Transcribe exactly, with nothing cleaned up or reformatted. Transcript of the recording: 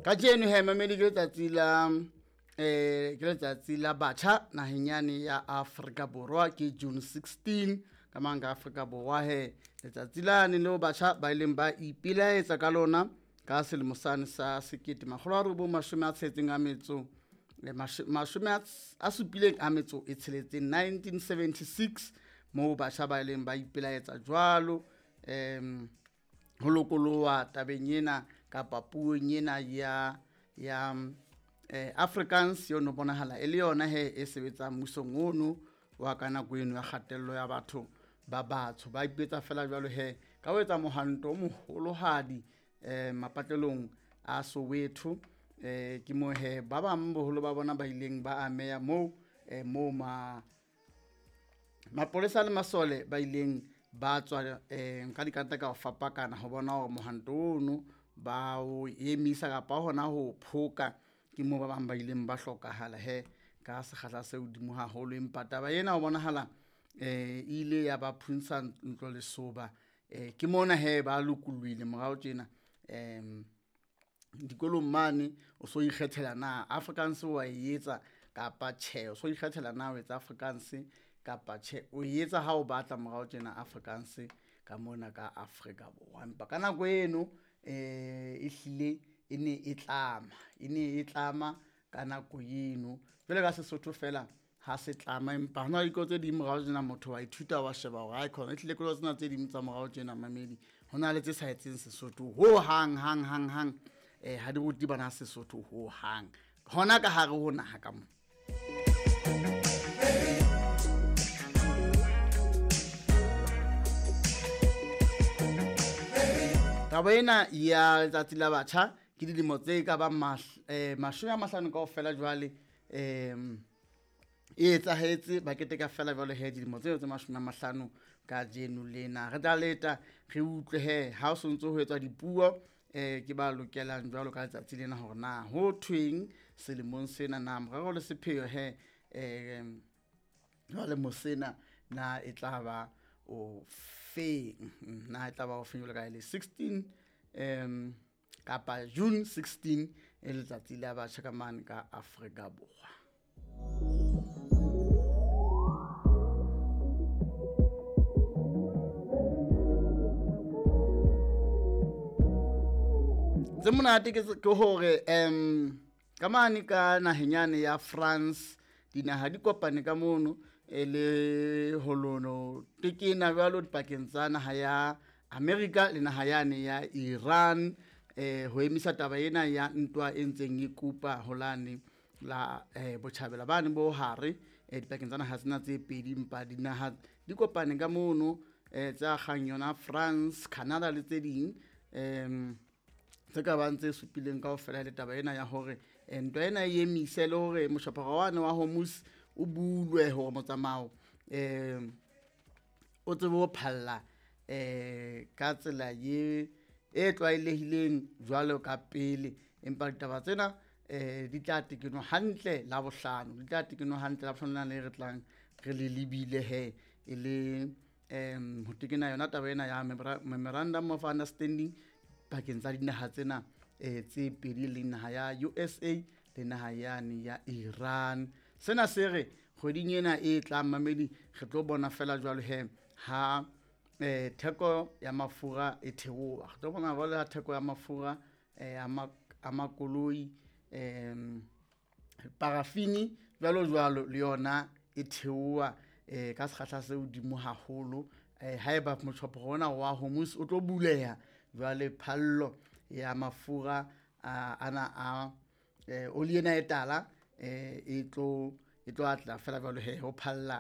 Kajeno he mamedi ke letsatsi la eh ke letsatsi la batjha naheng yane ya Afrika Borwa, ke June sixteen ka mang ka Afrika Borwa he. Letsatsi lane leo batjha ba ileng ba ipelaetsa ka lona ka selemo sane sa sekete makgolo a robong mashome a tsheletseng a metso le mashome a supileng a metso e tsheletseng, nineteen seventy-six, moo batjha ba ileng ba ipelaetsa jwalo em ho lokoloha tabeng ena kapa puong ena ya ya eh Afrikaans yo no bonahala e le yona he e sebetsang mmusong ono wa ka nako eno ya kgatello ya batho ba batsho. Ba ipetsa fela jwalo he ka ho etsa mohanto o moholohadi eh mapatlelong a Soweto. Eh ke mo he ba bang boholo ba bona ba ileng ba ameha moo eh moo ma mapolesa le masole ba ileng ba tswa eh ka dikanta ka ho fapakana ho bona hore mohanto ono ba o emisa kapa hona ho phoka. Ke moo ba bang ba ileng ba hlokahala he ka sekgahla se hodimo haholo, empa taba ena ho bonahala eh ile ya ba phuntsha ntlo lesoba. Eh ke mona he ba lokollohile morao tjena em dikolong mane o so ikgethela na Afrikaans wa e etsa kapa tjhe, o so ikgethela na o etsa Afrikaans kapa tjhe, o etsa ha o batla morao tjena Afrikaans ka mona ka Afrika Borwa. Empa ka nako eno eh e hlile e ne e tlama, e ne e tlama ka nako eno jwale ka Sesotho fela ha se tlama, empa hona le dikolo tse ding morao tjena motho wa ithuta wa sheba hore hai khona e hlile kolo tsena tse ding tsa morao tjena mamedi hona le tse sa etseng Sesotho ho hang hang hang hang eh ha di rute bana Sesotho ho hang hona ka hare ho naha ka mo. Taba ena ya letsatsi la batjha ke dilemo tse ka bang mashome a mahlano kaofela jwale em e etsahetse, ba keteka fela jwale he dilemo tseo tse mashome a mahlano kajeno lena. Re tla leta re utlwe he ha o sontso ho etswa dipuo eh ke ba lokelang jwalo ka letsatsi lena hore na ho thweng selemong sena, na morero le sepheo he eh jwale mosena na e tla ba o feng, na e tla ba o feng jwalo ka le sixteen em kapa June sixteen e letsatsi la batjha ka mane ka Afrika Borwa. Tse monate ke hore em ka mane ka naheng yane ya France dinaha di kopane ka mono e le holono tekena jwalo dipakeng tsa naha ya America le naha yane ya Iran eh ho emisa taba ena ya ntwa e ntseng e kupa holane la eh botjhabela bane bo hare eh dipakeng tsa naha tsena tse pedi, empa dinaha di kopane ka mono eh tsa kgang yona France, Canada le tse ding em tse ka bang tse supileng kaofela le taba ena ya hore ntwa ena e emise le hore moshapara wane wa Hormuz o bulwe hore motsamao eh o tsebe ho phalla eh ka tsela ye e tlwaelehileng jwalo ka pele. Empa ditaba tsena eh di tla tekenwa hantle la bohlano, di tla tekenwa hantle la bohlano le re tlang re le lebile he e le em ho tekena yona taba ena ya memorandum of understanding pakeng tsa dinaha tsena eh tse pedi le naha ya U S A le naha yane ya Iran. Sena se re kgweding ena e tlang mamedi re tlo bona fela jwalo he ha eh theko ya mafura e theoha, re tlo bona jwalo ha theko ya mafura eh a makoloi em parafini jwalo jwalo le yona e theoha eh ka sekgahla se hodimo haholo. Eh haeba motjhopo ona wa Hormuz o tlo buleha jwale phallo ya mafura a ana a oli ena e tala eh e tlo e tlo atla fela jwalo he ho phalla